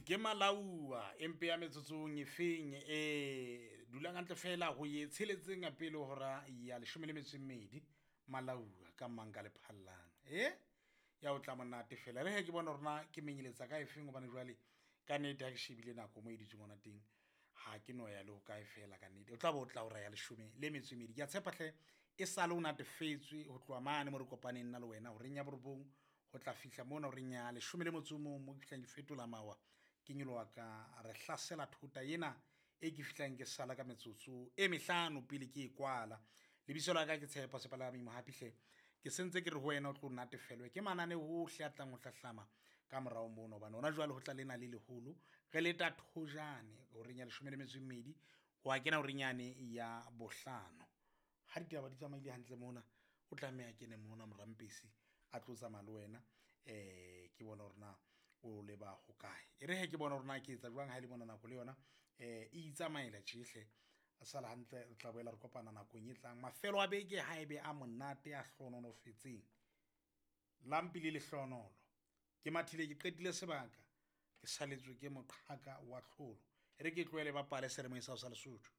Ke malaua empe ya metsotsong e feng e dulang hantle fela go ye tsheletseng pele hora ya leshome le metso e mmedi. Malaua ka mang ka lephallang e ya o tla monate fela re he ke bona rona ke menyeletsa ka efeng gobane jwale ka nnete ha ke shebile nako mo e dutseng gona teng ha ke no ya le ho kae fela ka nnete o tla bo o tla ora ya leshome le metso e mmedi. Ke a tshepa hle e sale o natefetswe ho tloha mane mo re kopaneng nna le wena horeng ya borobong ho tla fihla mona horeng ya leshome le motso o mong mo ke fihlang ke fetola mawa ke nyoloha ka re hlasela thota ena e ke fihlang ke sala ka metsotso e mehlano pele ke e kwala. Lebitso la ka ke Tshepo Sepalami Mohapi hle. Ke sentse ke re ho wena o tlo natefelwe ke manane ohle a tlang ho hlahlama ka morao mono, hobane hona jwale ho tla lena le leholo. Re leta thojane horeng ya leshome le metso e mmedi ho a kena horeng yane ya bohlano. Ha ditaba di tsamaile hantle mona, o tlameha kene mona morampesi a tlo tsamaya le wena. Ke bone hore na o leba hokae. E re hee ke bone hore na ke etsa jwang ha e le mona nako le yona e itsamaela tjehle. A sala hantle, re tla boela re kopana nakong e tlang. Mafelo a beke ha ebe a monate a hlohonolofetseng. Lampi le lehlohonolo. Ke mathile ke qetile sebaka, ke saletswe ke moqhaka wa tlholo. E re ke tlohele bapale seyalemoyeng sa hao sa Lesotho.